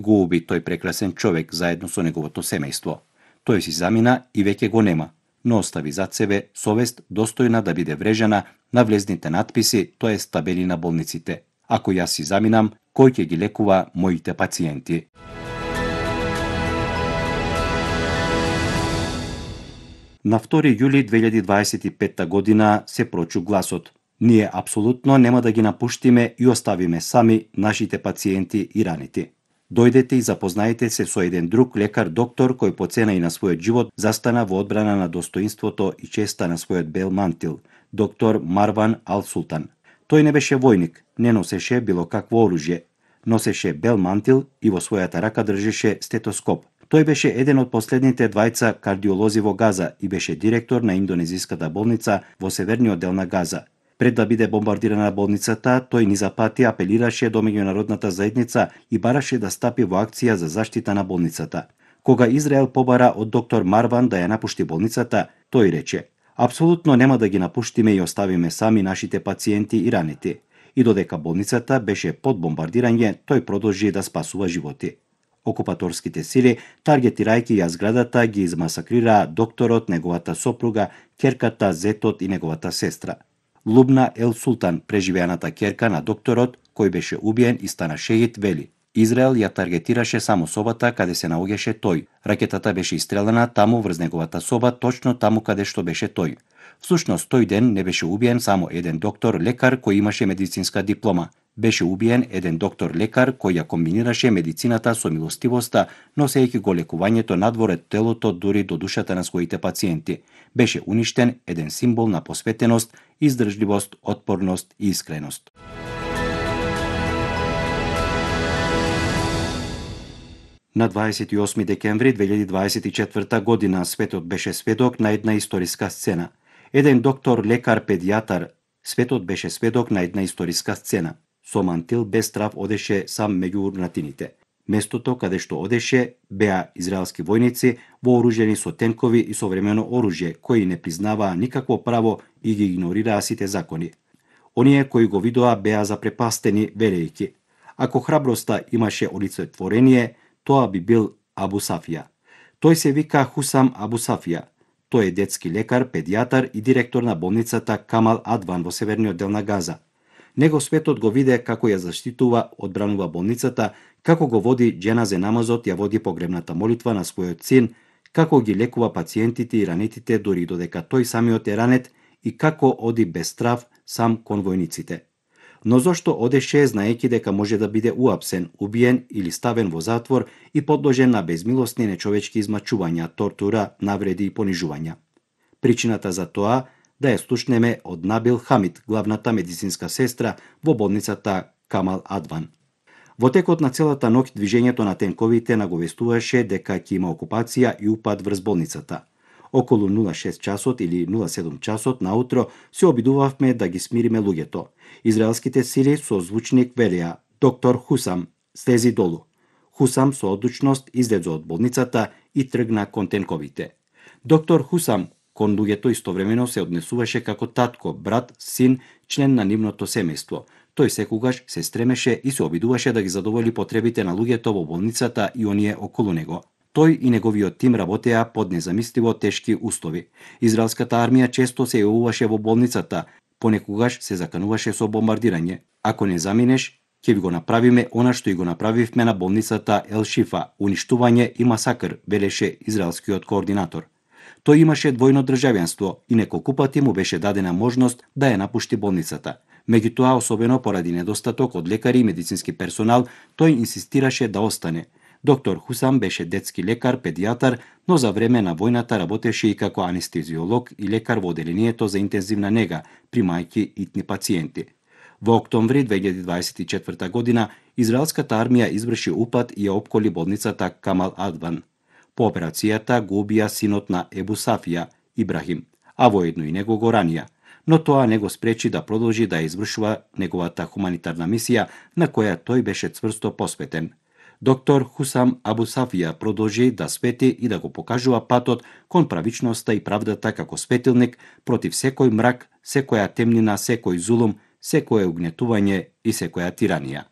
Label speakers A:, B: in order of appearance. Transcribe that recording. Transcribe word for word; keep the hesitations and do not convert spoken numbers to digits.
A: Го уби тој прекрасен човек заедно со неговото семејство. Тој си замина и веќе го нема, но остави зад себе совест достојна да биде врежана на влезните надписи, тоа е табели на болниците. Ако јас си заминам, кој ќе ги лекува моите пациенти? На втори јули две илјади дваесет и петта година се прочу гласот: ние апсолутно нема да ги напуштиме и оставиме сами нашите пациенти и раните. Дојдете и запознаете се со еден друг лекар-доктор кој по цена и на својот живот застана во одбрана на достоинството и честа на својот бел мантил, доктор Марван Ал Султан. Тој не беше војник, не носеше било какво оружје, носеше бел мантил и во својата рака држеше стетоскоп. Тој беше еден од последните двајца кардиолози во Газа и беше директор на индонезиската болница во северниот дел на Газа. Пред да биде бомбардирана болницата, тој низа пати апелираше до меѓународната заедница и бараше да стапи во акција за заштита на болницата. Кога Израел побара од доктор Марван да ја напушти болницата, тој рече: апсолутно нема да ги напуштиме и оставиме сами нашите пациенти и раните. И додека болницата беше под бомбардирање, тој продолжи да спасува животи. Окупаторските сили, таргетирајќи ја зградата, ги измасакрираа докторот, неговата сопруга, ќерката, зетот и неговата сестра. Лубна Ел Султан, преживеаната ќерка на докторот, кој беше убиен и стана шеид, вели: Израел ја таргетираше само собата каде се наоѓаше тој. Ракетата беше истрелена таму врз неговата соба, точно таму каде што беше тој. Всушност, тој ден не беше убиен само еден доктор лекар кој имаше медицинска диплома. Беше убиен еден доктор лекар кој ја комбинираше медицината со милостивоста, носејќи го лекувањето надвор од телото дури до душата на своите пациенти. Беше уништен еден символ на посветеност, издржливост, отпорност и искреност. На дваесет и осми декември две илјади дваесет и четврта година светот беше сведок на една историска сцена. Еден доктор, лекар, педијатар, светот беше сведок на една историска сцена. Со мантил без страв одеше сам меѓу урнатините. Местото каде што одеше беа израелски војници вооружени со тенкови и современо оружје, кои не признаваа никакво право и ги игнорираа сите закони. Оние кои го видоа беа запрепастени, велејќи: ако храброста имаше олицетворение, тоа би бил Абу Сафија. Тој се вика Хусам Абу Сафија. Тој е детски лекар, педијатар и директор на болницата Камал Адван во северниот дел на Газа. Него светот го виде како ја заштитува, одбранува болницата, како го води џеназе намазот, ја води погребната молитва на својот син, како ги лекува пациентите и ранетите дури додека тој самиот е ранет и како оди без страв сам кон војниците. Но зошто одеше знаејќи дека може да биде уапсен, убиен или ставен во затвор и подложен на безмилосни нечовечки измачувања, тортура, навреди и понижувања? Причината за тоа да ја слушнеме од Набил Хамид, главната медицинска сестра во болницата Камал Адван. Во текот на целата ноќ движењето на тенковите наговестуваше дека ќе има окупација и упад врз болницата. Околу нула шест часот или нула седум часот наутро се обидувавме да ги смириме луѓето. Израелските сили со звучник велеа: доктор Хусам, слези долу. Хусам со одлучност излезе од болницата и тргна кон тенковите. Доктор Хусам кон луѓето истовремено се однесуваше како татко, брат, син, член на нивното семејство. Тој секогаш се стремеше и се обидуваше да ги задоволи потребите на луѓето во болницата и оние околу него. Тој и неговиот тим работеа под незамисливо тешки услови. Израелската армија често се јавуваше во болницата, понекогаш се закануваше со бомбардирање. Ако не заминеш, ќе ви го направиме она што и го направивме на болницата Ел Шифа, уништување и масакр, велеше израелскиот координатор. Тој имаше двојно државјанство и неколку пати му беше дадена можност да ја напушти болницата. Меѓутоа, особено поради недостаток од лекари и медицински персонал, тој инсистираше да остане. Доктор Хусам беше детски лекар, педијатар, но за време на војната работеше и како анестезиолог и лекар во оделението за интензивна нега, примајќи итни пациенти. Во октомври две илјади дваесет и четврта година, израелската армија изврши упад и ја опколи болницата Камал Адван. По операцијата го убија синот на Ебу Сафија, Ибрахим, а воедно и него го ранија, но тоа не го спречи да продолжи да извршува неговата хуманитарна мисија на која тој беше цврсто посветен. Доктор Хусам Абу Сафија продолжи да свети и да го покажува патот кон правичноста и правдата како светилник против секој мрак, секоја темнина, секој зулум, секое угнетување и секоја тиранија.